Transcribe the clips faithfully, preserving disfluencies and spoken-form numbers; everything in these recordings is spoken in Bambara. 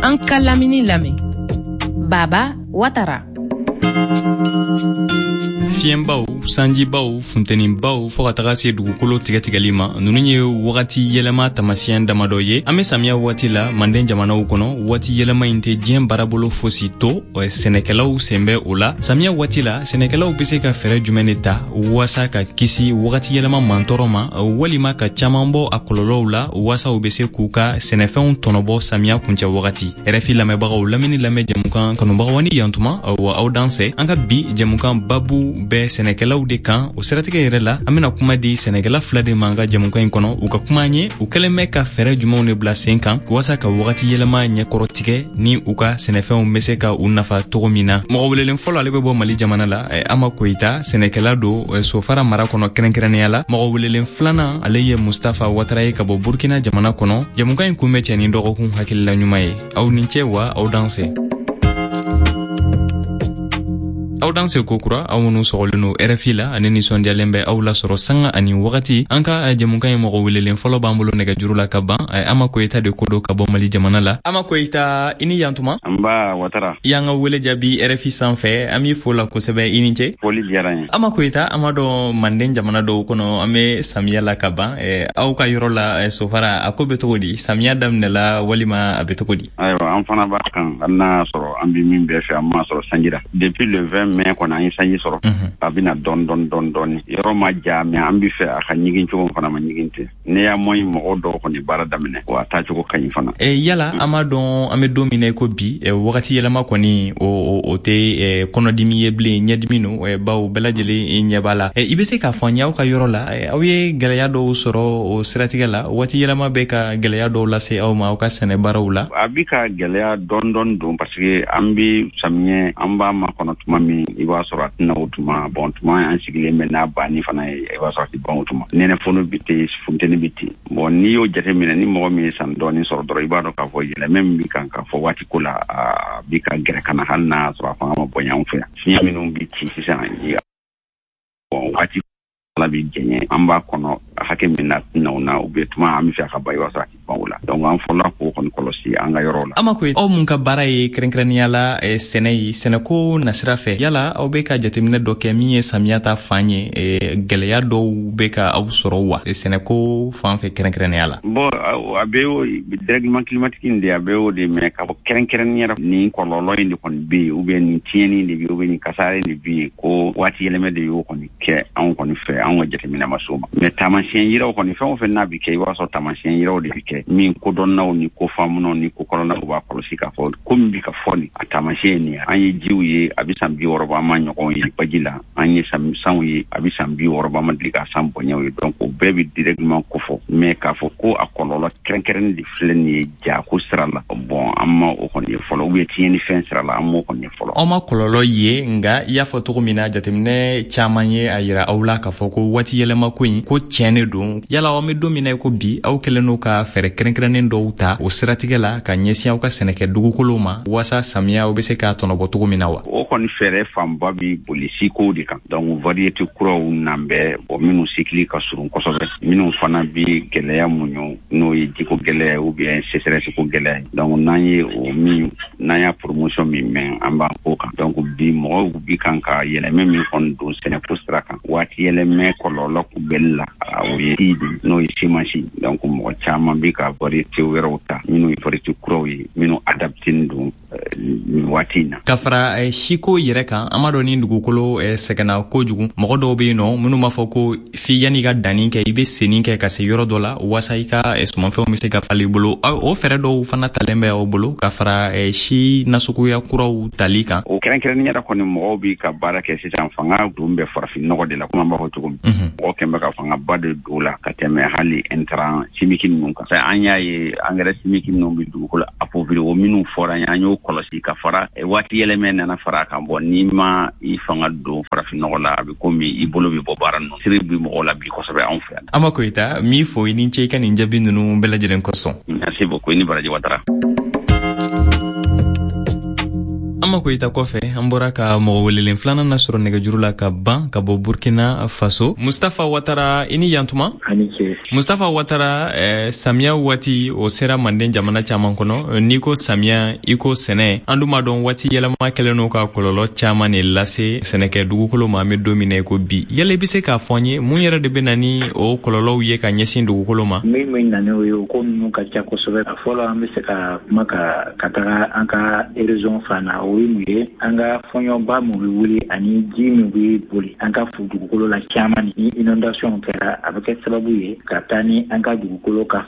An ka lamini lamɛn. Baba Watara. Fiɲɛbaw, sanjibaw, funtenibaw, fɔɔ ka taga se dugukolo tigɛtigɛli ma, nunu ye wagati yɛlɛma taamasiyɛn damadɔ ye. An be samiya waati la manden jamanaw kɔnɔ. Waati yɛlɛma in tɛ diɲɛ baarabolo fosi to, sɛnɛkɛlaw sen bɛ o la. Samiya waati la, sɛnɛkɛlaw be se ka fɛɛrɛ jumɛn de ta waasa ka kisi wagati yɛlɛma mantɔrɔ ma, walima ka caaman bɔ a kɔlɔlɔw la, waasa u be se k'u ka sɛnɛfɛnw tɔnɔbɔ samiya kuncɛ wagati? R F I lamɛnbagaw, lamini lamɛn jɛmukan kanubagaw ni yantuma wa, aw dansɛ. An ka bi jɛmukan babu bɛ sɛnɛkɛlaw de kan. O siratigɛ yɛrɛ la, an bena kuma di sɛnɛkɛla fila de ma an ka jɛmukan in kɔnɔ, u ka kuma an ye u kɛlen bɛ ka fɛɛrɛ jumɛnw de bila sen kan waasa ka wagati yɛlɛma ɲɛkɔrɔ tigɛ ni u ka sɛnɛfɛnw be se ka u nafa cogo min na. Mɔgɔ welelen fɔlɔ, ale bɛ bɔ Mali jamana la, Ama Koyita, sɛnɛkɛla don Sofara mara kɔnɔ kɛrɛnkɛrɛnnenya la. Mɔgɔ welelen filanan, ale ye Mustafa Watara ye ka bɔ Burkina jamana kɔnɔ. Jɛmukan in kun bɛ cɛ ni dɔgɔkun hakilila ɲuman ye. Aw ni cɛ wa, aw danse. Aw danse kokura, aw minnu sɔgɔlen no R F I la ani nisɔndiyalen bɛ aw lasɔrɔ sanga ani wagati. An ka jɛmukan ye, mɔgɔ welelen fɔlɔ b'an bolo nɛgɛjuru la ka ban. Ama Koyita de ko do ka bɔ Mali jamana la. Ama Koyita, i ni yantuma. Nba, Watara. I y'an ka wele jaabi R F I sanfɛ, an b'i fo la kosɛbɛ, i ni ce. Foli diyara n ye. Ama Koyita, an b'a dɔn manden jamana dɔw kɔnɔ, an be samiya la ka ban. Aw ka yɔrɔ la Sofara, a ko be cogo di? Samiya daminɛla walima a be cogo di? Ayiwa, an fana b'a kan, hali n'a y'a sɔrɔ an bi min bɛɛ fɛ, an m'a sɔrɔ sanji la. Depuis le vingt mai kɔni, an ye sanji sɔrɔ. A bɛna dɔɔni dɔɔni dɔɔni dɔɔni, yɔrɔ ma ja, mais an bi fɛ a ka ɲigin cogo fana ma ɲigin ten. Néanmoins, mɔgɔw dɔw kɔni baara daminɛ wa, a taacogo ka ɲi fana. E, yala an b'a dɔn an bɛ don min na i ko bi, wagati yɛlɛma kɔni o o tɛ kɔnɔdimi ye bilen, ɲɛdimi no, bawo bɛɛ lajɛlen ɲɛ b'a la. I bɛ se k'a fɔ an ye, aw ka yɔrɔ la, aw ye gɛlɛya dɔw sɔrɔ o siratigɛ la? Waati yɛlɛma bɛ ka gɛlɛya dɔw lase aw ma aw ka sɛnɛ baaraw la? A bi ka gɛlɛya dɔɔni dɔɔni don, parce que an bi samiyɛ, an b'a makɔnɔ tuma min, i b'a sɔrɔ a tɛna o tuma. Bon, tuma an sigilen bɛ n'a banni fana ye, i b'a sɔrɔ a tɛ ban o tuma. Nɛnɛ fono bi ten, funteni bi ten. Bon, n'i y'o jateminɛ, ni mɔgɔ min ye san dɔɔni sɔrɔ dɔrɔn, i b'a dɔn k'a fɔ yɛlɛmɛ min bi kan k'a fɔ waati ko la, a bi ka gɛrɛ ka na, hali n'a sɔrɔ a fanga ma bonya anw fɛ yan. Fiɲɛ minnu bi ci sisan, bon, waati ala bi jɛɲɛ, an b'a kɔnɔ hakɛ min na tɛna o na, ou bien tuma an bɛ fɛ a ka ban, i b'a sɔrɔ a tɛ ban o la. Donc an fɔlɔla k'o kɔni kɔlɔsi an ka yɔrɔw la. Ama Koyi, aw mun ka baara ye kɛrɛnkɛrɛnnenya la sɛnɛ ye, sɛnɛko nasira fɛ, yala aw bɛ ka jateminɛ dɔ kɛ min ye samiya ta fan ye, gɛlɛya dɔw bɛ ka aw sɔrɔ wa, sɛnɛko fan fɛ kɛrɛnkɛrɛnnenya la? Bon, a bɛ o dérèglement climatique in de, a bɛ o de, mais ka fɔ kɛrɛnkɛrɛnnenya la nin kɔlɔlɔ in de kɔni bɛ yen, ou bien nin tiɲɛni de bɛ yen, ou bien nin kasara in de bɛ yen, ko waati yɛlɛmɛ de y'o kɔni kɛ anw kɔni fɛ, anw ka jateminɛ ma s'o ma. Mais taamasiyɛn yiraw kɔni, fɛn o fɛn n'a bɛ kɛ, i b'a sɔrɔ taamasiyɛn yiraw de bɛ kɛ min kodɔnnaw ni ko faamunaw ni ko kɔlɔnnaw b'a kɔlɔsi k'a fɔ ko min bɛ ka fɔ nin, a taamasiyɛn nin ye. An ye jiw ye, a bɛ san bi wɔɔrɔ bɔ, an ma ɲɔgɔn ye baji la. An ye sanw ye, a bɛ san bi wɔɔrɔ bɔ, an ma deli ka san bonyaw ye. Donc o bɛɛ bɛ dérèglement kofɔ, mais k'a fɔ ko a kɔlɔlɔ kɛrɛnkɛrɛnnen de filɛ nin ye ja ko sira la, bon, an ma o kɔni ye fɔlɔ, ou bien tiɲɛni fɛn sira la, an m'o kɔni ye fɔlɔ. Aw ma kɔlɔlɔ ye, nka i y'a fɔ cogo min na, jateminɛ caman ye a yira aw la k'a fɔ ko waati yɛlɛma ko in ko tiɲɛ de don. Yala aw bɛ don min na i ko bi, aw kɛlen don ka fɛɛrɛ kɛrɛnkɛrɛnnen dɔw ta o siratigɛ la ka ɲɛsin aw ka sɛnɛkɛ dugukolow ma, waasa samiya aw bɛ se k'a tɔnɔbɔ cogo min na wa? O kɔni fɛɛrɛ fanba bi boli sikow de kan. Donc variété kuraw nan bɛ bon, minnu cycle ka surun kosɛbɛ, minnu fana bi gɛlɛya muɲu, n'o ye jiko gɛlɛya ou bien sécheresse ko gɛlɛya ye. Donc n'an ye o min, n'an y'a promotion min mɛn, an b'an k'o kan. Donc bi mɔgɔw bi kan ka yɛlɛmɛ min kɔni don sɛnɛko sira kan waati yɛlɛmɛ kɔlɔlɔ kunbɛli la, o ye si de, n'o ye semence. Donc mɔgɔ caman bi ka variété wɛrɛw ta, minnu ye variété kuraw ye, minnu adapté don nin waati in na. Ka fara siko yɛrɛ kan, an b'a dɔn ni dugukolo sɛgɛnna kojugu, mɔgɔ dɔw bɛ yen nɔ minnu b'a fɔ ko f'i yanni i ka danni kɛ, i bɛ senni kɛ ka se yɔrɔ dɔ la waasa i ka sumanfɛnw bɛ se ka falen i bolo. O fɛɛrɛ dɔw fana talen bɛ aw bolo ka fara si nasuguya kuraw tali kan? O kɛrɛnkɛrɛnnenya la kɔni, mɔgɔw bi ka baara kɛ sisan, fanga don bɛ farafin nɔgɔ de la, komi an b'a fɔ cogo min. Mɔgɔ kɛn bɛ ka fangaba de don la ka tɛmɛ hali intrant chimique ninnu kan. An y'a ye engrais chimique minnu bɛ dugukolo appauvrir, o minnu fɔra an ye, an y'o kɔlɔsi ka fara waati yɛlɛmɛ nana fara a kan. Bɔn, n'i ma i fanga don farafin nɔgɔ la, a bɛ komi i bolo bɛ bɔ baara ninnu siri bi mɔgɔw la bi kosɛbɛ anw fɛ yan. Ama Koyita, min fo, i ni ce i ka nin jaabi ninnu bɛɛ lajɛlen kosɔn. Merci beaucoup, i ni baraji, Watara. Ama Koyita kɔfɛ, an bɔra ka mɔgɔ welelen filanan na sɔrɔ nɛgɛjuru la ka ban ka bɔ Burkina Faso, Mustafa Watara, i ni yantuma. Mustafa Watara, eh, samiya waati o sera Manden jamana caman kɔnɔ. N'i ko samiya, i ko sɛnɛ. An dun b'a dɔn waati yɛlɛma kɛlen don ka kɔlɔlɔ caman de lase sɛnɛkɛ dugukolo ma. An bɛ don min na i ko bi, yala i bɛ se k'a fɔ an ye mun yɛrɛ de bɛ na ni o kɔlɔlɔw ye ka ɲɛsin dugukolo ma? Min bɛ na n'o ye, o ko ninnu ka ca kosɛbɛ. A fɔlɔ, an bɛ se ka kuma ka ka taga an ka érosion fan na. O ye mun ye? An ka fɔɲɔba mun bɛ wuli ani ji min bɛ boli an ka dugukolo la caman, ni inondation kɛra, a bɛ kɛ sababu ye ka taa ni an ka dugukolo ka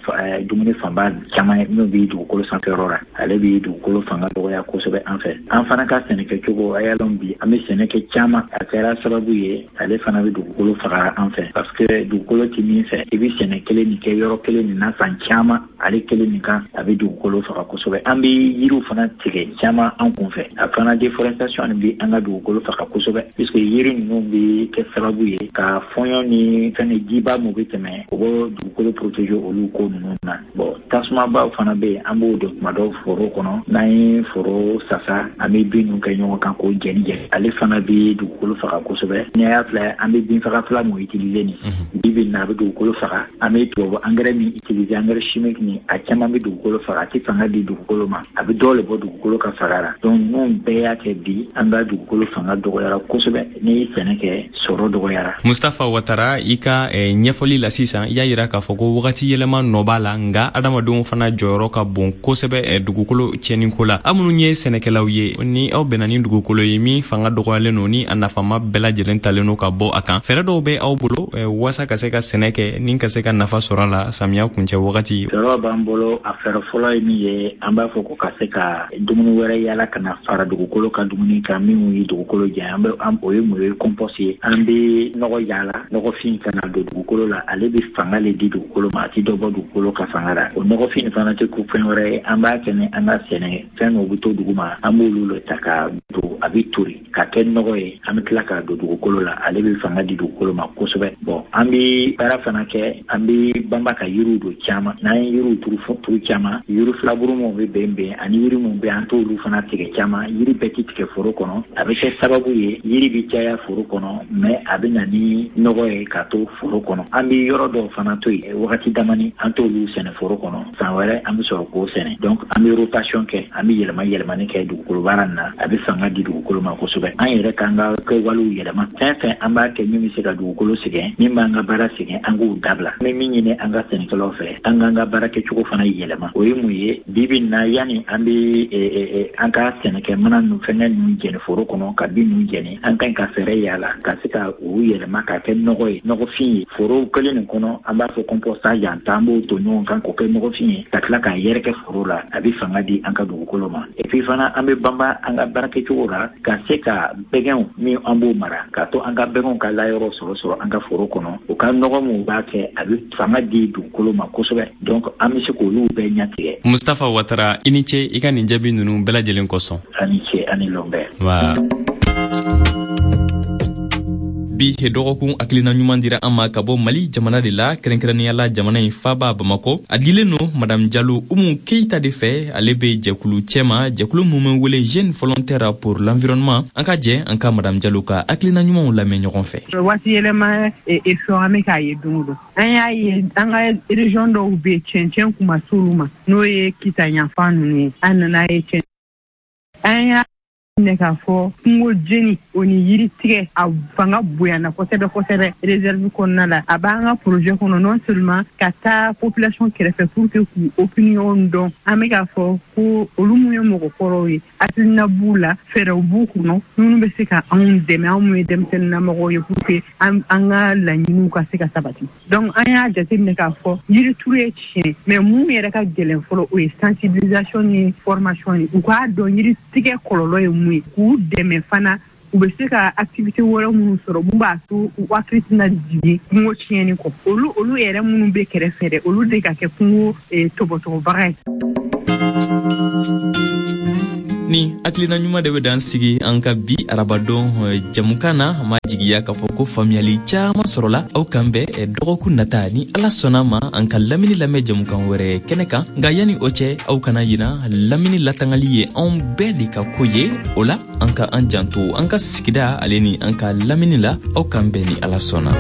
dumuni fanba caman ye min bɛ dugukolo sanfɛyɔrɔ la. Ale bɛ dugukolo fanga dɔgɔya kosɛbɛ an fɛ. An fana ka sɛnɛkɛcogo, a y'a lɔn bi an bɛ sɛnɛ kɛ caman, a kɛra sababu ye, ale fana bɛ dugukolo faga an fɛ, parce que dugukolo ti min fɛ, i bɛ sɛnɛ kelen nin kɛ yɔrɔ kelen nin na san caman, ale kelen nin kan, a bɛ dugukolo faga kosɛbɛ. An bɛ yiriw fana tigɛ caman an kun fɛ. A fana déforestation bɛ an ka dugukolo faga kosɛbɛ, puisque yiri ninnu bɛ kɛ sababu ye ka fɔɲɔ ni fɛn jiba mun bɛ tɛmɛ, o bɛ dugukolo protéger olu ko ninnu na. Bon, tasumabaw fana bɛ yen, an b'o don tuma dɔw foro kɔnɔ. N'an ye foro sasa, an bɛ bin ninnu kɛ ɲɔgɔn kan k'o jɛni jɛni, ale fana bɛ dugukolo faga kosɛbɛ. N'i y'a filɛ, an bɛ binfaga fila mun utiliser nin bi bi in na, a bɛ dugukolo faga. An bɛ tubabu engrais min utiliser, engrais chimique nin, a caman bɛ dugukolo faga, a tɛ fanga di dugukolo ma, a bɛ dɔ le bɔ dugukolo ka faga la. Donc ninnu bɛɛ y'a kɛ bi an ka dugukolo fanga dɔgɔyara kosɛbɛ. N'i ye sɛnɛ kɛ, sɔrɔ dɔgɔyara. Mustafa Watara, i ka eh, ɲɛfɔli la sisan, i y'a yira k'a fɔ ko wagati yɛlɛma nɔ b'a la, nka adamadenw fana jɔyɔrɔ ka bon kosɛbɛ eh, dugukolo tiɲɛniko la. Aw minnu ye sɛnɛkɛlaw ye, ni aw bɛnna ni dugukolo ye min fanga dɔgɔyalen don, ni a nafama bɛɛ lajɛlen talen don ka bɔ a kan, fɛɛrɛ dɔw bɛ aw bolo eh, waasa ka se ka sɛnɛ kɛ ni ka se ka nafa sɔrɔ a la samiya kuncɛ wagati? Fɛɛrɛ b'an bolo. A fɛɛrɛ fɔlɔ ye min ye, an b'a fɔ ko ka se ka dumuni wɛrɛ yala ka na fara dugukolo ka dumuni kan min ye dugukolo jɛ. An bɛ, o ye mun ye? Compost ye. An bɛ nɔgɔ yaala, nɔgɔfin ka na don dugukolo la, ale bɛ fanga le di dugukolo ma, a ti dɔ bɔ dugukolo ka fanga la. O nɔgɔfin fana tɛ ko fɛn wɛrɛ ye, an b'a kɛ ni an ka sɛnɛ fɛn dɔw bɛ to dugu ma, an b'olu le ta ka don, a bɛ tori ka kɛ nɔgɔ ye, an bɛ tila k'a don dugukolo la, ale bɛ fanga di dugukolo ma kosɛbɛ. Bon, an bɛ baara fana kɛ, an bɛ banba ka yiriw don caman. N'an ye yiriw turu turu caman, yiri filaburu minnu bɛ bɛn bɛn ani yiri minnu bɛ, an t'olu fana tigɛ caman. Yiri bɛɛ ti tigɛ foro kɔnɔ. A bɛ kɛ sababu ye, yiri bɛ caya foro kɔnɔ, mais a bɛ na ni nɔgɔ ye ka to foro kɔnɔ. An bɛ yɔrɔ dɔw fana to yen wagati damani, an t'olu sɛnɛ foro kɔnɔ. San wɛrɛ an bɛ sɔrɔ k'o sɛnɛ. Donc an bɛ rotation kɛ, an bɛ yɛlɛma yɛlɛmani kɛ dugukolo baara nin na, a bɛ fanga di dugukolo ma kosɛbɛ. An yɛrɛ k'an ka kɛwalew yɛlɛma. Fɛn fɛn an b'a kɛ min bɛ se ka dugukolo sɛgɛn, min b'an ka baara sɛgɛn, an k'o dabila. An bɛ min ɲini an ka sɛnɛkɛlaw fɛ, an k'an ka baara kɛcogo fana yɛlɛma. O ye mun ye? Bi bi in na, yanni an bɛ an ka sɛnɛkɛ mana ninnu, fɛngɛ ninnu jɛni foro kɔnɔ, ka bin ninnu jɛni, an ka ɲi ka fɛɛrɛ yala ka se ka u yɛlɛma ka kɛ nɔgɔ ye, nɔgɔfin ye foro kelen nin kɔnɔ. An b'a fɔ compostage, an ta an b'o to ɲɔgɔn kan k'o kɛ nɔgɔfin ye ka tila k'a yɛrɛkɛ foro la, a bɛ fanga di an ka dugukolo ma. Et puis fana, an bɛ banba an ka baara kɛcogo la ka se ka bɛgɛnw min an b'o mara, k'a to an ka bɛgɛnw ka layɔrɔ sɔrɔ sɔrɔ an ka foro kɔnɔ. U ka nɔgɔ min b'a kɛ, a bɛ fanga di dugukolo ma kosɛbɛ. Donc an bɛ se k'olu bɛɛ ɲɛtigɛ. Mustafa Watara, i ni ce i ka nin jaabi ninnu bɛɛ lajɛlen kosɔn. Ani ce, ani lɔn bɛɛ. Wa bi dɔgɔkun hakilina ɲuman dira an ma ka bɔ Mali jamana de la, kɛrɛnkɛrɛnnenya la jamana in faba Bamakɔ. A dilen no Madame Jalo Umu Keyita de fɛ. Ale be jɛkulu cɛma, jɛkulu mun bɛ wele Jeune Volontaire pour l'Environnement. An ka jɛ an ka Madame Jalo ka hakilina ɲumanw lamɛn ɲɔgɔn fɛ. Waati yɛlɛma effet, an bɛ k'a ye don o don. An y'a ye an ka région dɔw bɛ yen, cɛncɛn kun ma s'olu ma, n'o ye Kita yanfan ninnu ye. An nana ye cɛn, an y'a minɛ k'a fɔ kungo jeni, o ni yiri tigɛ, a fanga bonyana kosɛbɛ kosɛbɛ réserve kɔnɔna la. A b'an ka projet kɔnɔ, non seulement ka taa population kɛrɛfɛ pour que k'u opinion dɔn. An bɛ k'a fɔ ko olu mun ye mɔgɔkɔrɔw ye, hakilina b'u la, fɛɛrɛw b'u kɔnɔ minnu bɛ se ka anw dɛmɛ, anw mun ye denmisɛnninnamɔgɔw ye, pour que an ka laɲiniw ka se ka sabati. Donc an y'a jateminɛ k'a fɔ yirituru ye tiɲɛ, mais mun yɛrɛ ka gɛlɛn fɔlɔ, o ye sensibilisation ni formation ye, u k'a dɔn yiri tigɛ kɔlɔlɔ ye mun ye, k'u dɛmɛ fana u bɛ se ka activité wɛrɛ minnu sɔrɔ mun b'a to u hakili tɛna jigin kungo tiɲɛni kɔ. Olu olu yɛrɛ minnu bɛ kɛrɛfɛ dɛ, olu de ka kɛ kungo tɔbɔtɔbaga ye. Ni hakilina ɲuman de bɛ dan sigi an ka bi arabadon jamukan na. An b'a jigiya k'a fɔ ko faamuyali caman sɔrɔla. Aw kan bɛn dɔgɔkun nata, ni Ala sɔnna ma, an ka lamini lamɛn jamukan wɛrɛ kɛnɛ kan. Nka yanni o cɛ, aw kana yina, lamini latangali ye anw bɛɛ de ka ko ye. O la, an ka an janto an ka sigida ale ni an ka lamini la. Aw kan bɛn ni Ala sɔnna.